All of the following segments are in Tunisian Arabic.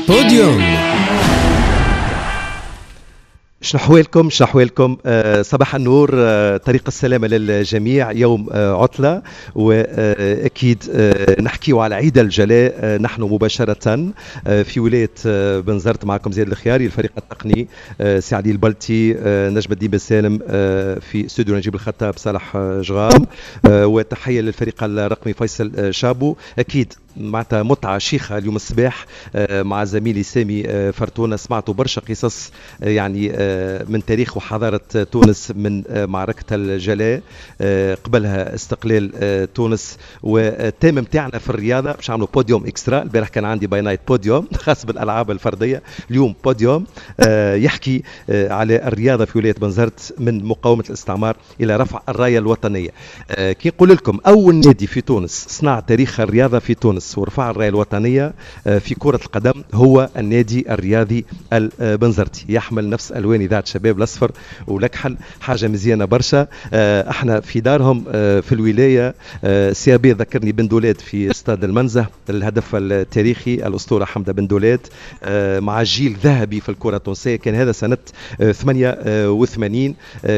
بوديوم. شنو احوالكم؟ شنو احوالكم؟ صباح النور، طريق السلامة للجميع، يوم عطلة وأكيد نحكيو على عيد الجلاء. نحن مباشرة في ولاية بنزرت، معكم زياد الخياري، الفريق التقني سي علي البلتي، نجم الدين بن سالم، في استوديو نجيب الخطاب صالح جغام، وتحية للفريق الرقمي فيصل شابو. أكيد معناتها متعة شيخة اليوم الصباح مع زميلي سامي فرتونة. سمعتوا برشا قصص يعني من تاريخ وحضارة تونس، من معركة الجلاء، قبلها استقلال تونس، وال thème متاعنا في الرياضة باش نعملوا podium extra. البارح كان عندي by night podium خاص بالألعاب الفردية، اليوم بوديوم يحكي على الرياضة في ولاية بنزرت من مقاومة الاستعمار إلى رفع الراية الوطنية. كي نقول لكم أول نادي في تونس صنع تاريخ الرياضة في تونس ورفع الراية الوطنية في كرة القدم هو النادي الرياضي البنزرتي، يحمل نفس ألوان إذاعة شباب، الأصفر والأكحل، حاجة مزيانة برشا. احنا في دارهم في الولاية CAB. ذكرني بن دولات في استاد المنزه، الهدف التاريخي الأسطورة حمدة بن دولات مع جيل ذهبي في الكرة التونسية، كان هذا سنة 88،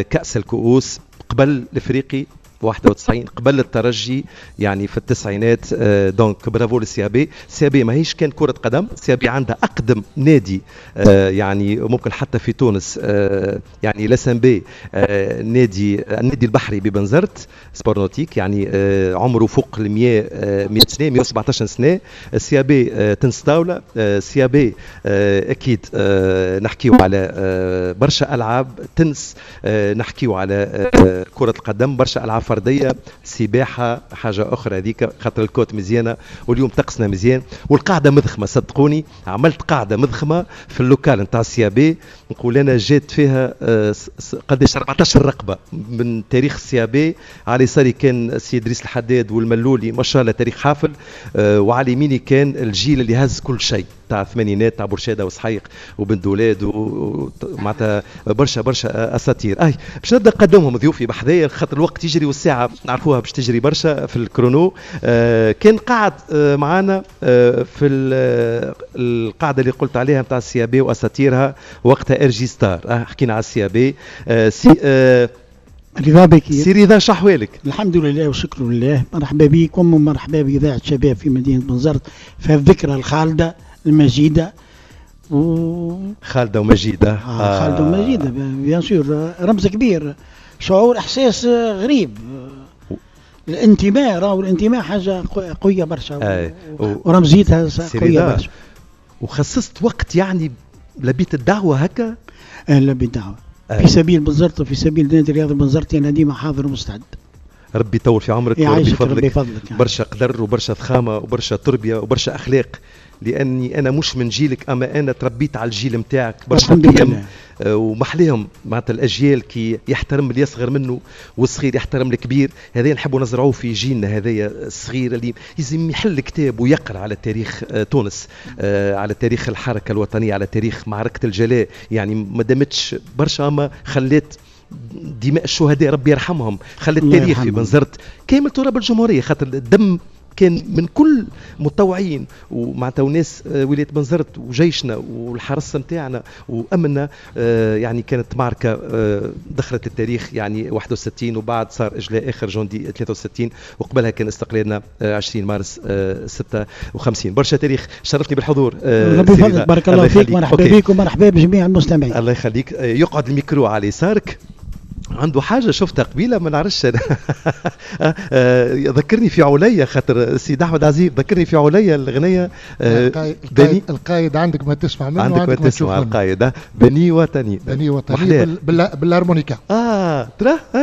كأس الكؤوس قبل الافريقي 91، قبل الترجي يعني في التسعينات. donc bravo لل CAB. CAB ماهيش كان كرة قدم، CAB عندها أقدم نادي يعني ممكن حتى في تونس، يعني l'SNB، النادي البحري ببنزرت sport nautique، يعني عمره فوق ال 100 سنة، 117 سنة. CAB تنس طاولة، CAB أكيد نحكيو على برشا ألعاب تنس، نحكيو على كرة القدم، برشا ألعاب فردية، سباحة، حاجة اخرى هذيك خاطر ال côte مزيانه واليوم طقسنا مزيان والقاعدة مضخمه. صدقوني عملت قاعدة مضخمه في ال local نتاع ال CAB، نقول انا جات فيها قداش 14 رقبة من تاريخ ال CAB. على يساري كان سي ادريس الحداد والملولي، ما شاء الله تاريخ حافل، وعلى يميني كان الجيل اللي هز كل شيء تاع الثمانينات، تاع برشاده وسحيق وبن دولاد ومعناتها برشا برشا اساطير. اي باش نبدا نقدمهم ضيوفي بحذايا خاطر الوقت يجري والساعة نعرفوها باش تجري برشا في ال chrono. كان قاعد معنا في القاعدة اللي قلت عليها نتاع ال CAB واساطيرها وقتها RJ Star. حكينا على ال CAB. سي رضا بكير. سي رضا، شحوالك؟ الحمد لله وشكر لله. مرحبا بكم ومرحبا بإذاعة شباب في مدينة بنزرت في الذكرى الخالدة المجيدة و خالدة ومجيدة. خالدة ومجيدة bien sûr، رمز كبير، شعور احساس غريب، الانتماء، راهو الانتماء حاجة قوية برشا ورمزيتها قوية برشا. وخصصت وقت يعني لبيت الدعوة هكا؟ لبيت الدعوة في سبيل بنزرت وفي سبيل نادي الرياضي بنزرت، انا ديما حاضر ومستعد. ربي يطول في عمرك وربي يفضلك، ربي يفضلك يعني. برشا قدر وبرشا ضخامه وبرشا تربيه وبرشا اخلاق، لاني انا مش من جيلك اما انا تربيت على الجيل نتاعك، برشا قيم ومحليهم معناتها الاجيال كي يحترم اللي يصغر منه والصغير يحترم الكبير. هذا نحبوا نزرعوه في جيلنا هذايا الصغير اللي لازم يحل كتاب ويقرا على تاريخ تونس، على تاريخ الحركة الوطنيه، على تاريخ معركة الجلاء. يعني ما دامتش برشا اما خلت دماء الشهداء ربي يرحمهم، خلت التاريخ في بنزرت كامل تراب الجمهوريه، خاطر الدم كان من كل متطوعين ومعناتها وناس ولاية بنزرت وجيشنا والحرس نتاعنا وامننا. يعني كانت معركة دخلت التاريخ يعني 61، وبعد صار اجلاء اخر جندي 63، وقبلها كان استقلالنا 20 مارس 56. برشا تاريخ. شرفتني بالحضور. ربي يفضلك، بارك الله فيك، مرحبا بك ومرحبا بجميع المستمعين. الله يخليك. يقعد الميكرو على يسارك، عنده حاجة شفتها قبيلة ما نعرفش، ذكرني في عليا، خاطر سيد أحمد عزيز ذكرني في عليا الغنية. القايد, القايد عندك ما تسمع منه. عندك ما تسمع القايد، بني وطني. بني وطني بال harmonica. ترى.